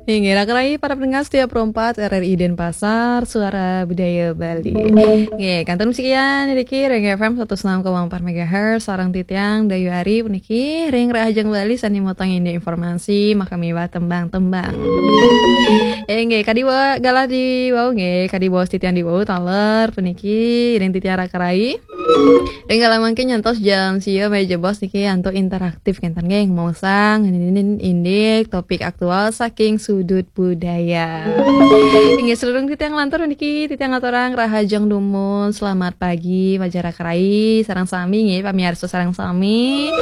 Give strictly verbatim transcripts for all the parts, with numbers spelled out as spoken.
Inggih, raka rai para pendengar setia Pro empat R R I Denpasar, Suara Budaya Bali. Inggih, kantun sekian niki ring F M seratus enam koma empat megahertz, sareng titiang Dayu Ari puniki ring Rahajeng Bali sane motong indik informasi, makamiwah tembang-tembang. Inggih, kadi wa-, galah diwau nggih, kadi baos titiang diwau taler puniki ring titiang raka rai. Ring galah mangkin nyantos jam sia malih jebos niki antuk interaktif kenten nggih, maosang ngenenin indik topik aktual saking sudut budaya. Inggih, sadurung titiang nglantur niki, titiang ngaturang rahajeng dumun, selamat pagi, majeng raka rai, sareng sami nggih, pamiarsa sareng sami.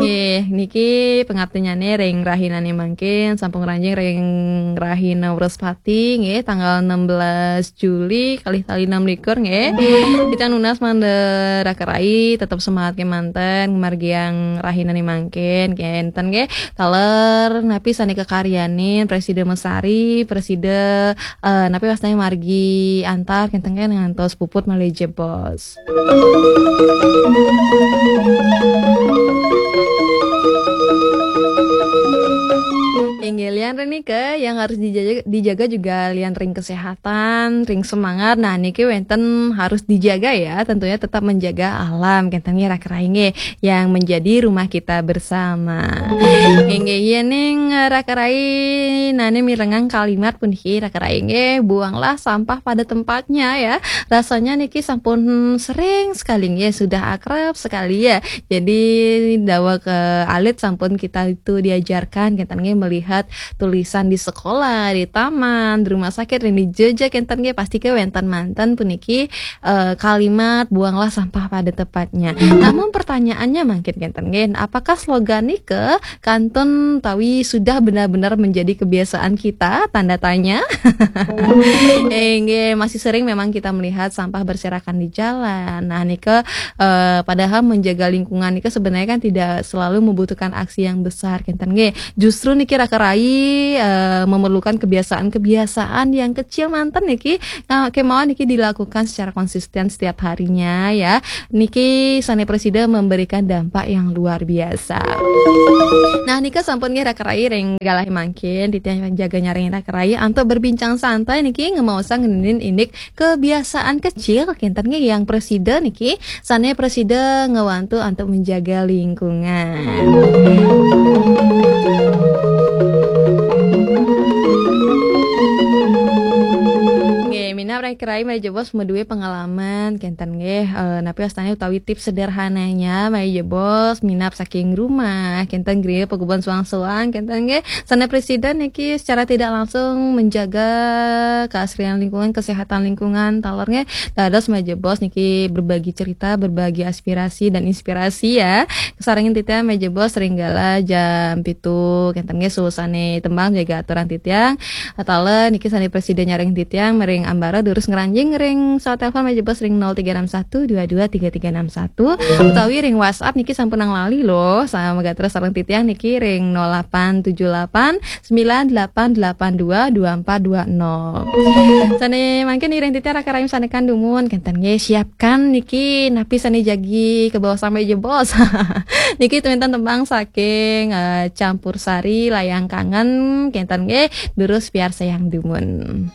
Nggih, niki pangaptinyane ring rahinane mangkin, sampun ngranjing ring rahina Wrespati nggih, tanggal enam belas Juli, kalih tali enam likur nggih. Titiang nunas mangda raka rai tetep semangat kemanten, ngamargiang rahinane mangkin, kenten nggih. Taler napi sane kakaryanin, presida mesari, presida, eh, napi wastane margi antar, kenten nggih, ngantos puput malih jebos. Inggih, lian ring nika yang harus dijaga, dijaga juga lian ring kesehatan, ring semangat. Nah, niki wenten harus dijaga ya, tentunya tetap menjaga alam, kenten nggih raka rai nggih, yang menjadi rumah kita bersama. Inggih, yening raka rai nane mirengang kalimat puniki raka rai nggih, buanglah sampah pada tempatnya ya. Rasanya niki sampun sering sekali nggih, sudah akrab sekali ya. Jadi dawa ke alit sampun kita itu diajarkan, kenten nggih, melihat tulisan di sekolah, di taman, di rumah sakit, ring di jeje kenten nggih, pasti ke wenten manten puniki, eh, kalimat buanglah sampah pada tempatnya. Namun pertanyaannya mangkin kenten nggih, apakah slogan nika kantun tawi sudah benar-benar menjadi kebiasaan kita? Tanda tanya. Eh, nggih, masih sering memang kita melihat sampah berserakan di jalan. Nah, nika, eh, padahal menjaga lingkungan nika sebenarnya kan tidak selalu membutuhkan aksi yang besar, kenten nggih. Justru niki raka rai, eh, memerlukan kebiasaan-kebiasaan yang kecil manten niki, nah, kemawon niki dilakukan secara konsisten setiap harinya ya. Niki sane presida memberikan dampak yang luar biasa. Nah, nika sampun nggih raka rai ring galah mangkin, titiang jaga nyaring raka rai antuk berbincang santai niki ngemaosang ngenenin indik kebiasaan kecil kenten nggih yang presida niki, sane presida ngewantu antuk menjaga lingkungan. Nggih, minab raka rai malih jebos madue pengalaman kenten nggih, eh, napi wastane utawi tips sederhananya malih jebos minab saking rumah, kenten griya pagubon soang-soang kenten nggih. Sane presida niki secara tidak langsung menjaga keasrian lingkungan, kesehatan lingkungan, taler nggih. Dados malih jebos niki berbagi cerita, berbagi aspirasi dan inspirasi ya. Kasarengin titiang malih jebos ring galah jam pitu kenten nggih, suusane tembang jaga aturang titiang. Taler niki sane presida nyaring titiang, mering ambara durus ngranjing ring sawat telepon malih jebos ring nol tiga enam satu dua dua tiga tiga enam satu, utawi ring WhatsApp niki sampun nang lali loh, sama gatra sareng titiang niki ring nol delapan tujuh delapan sembilan delapan delapan dua dua empat dua nol. Sane mangkin iring titiang raka rai sanekan dumun, kenten nggih, siapkan niki napi sane jagi kebaos malih jebos. Niki wenten tembang saking, eh, Campur Sari, Layang Kangen, kenten nggih, durus piarsayang dumun.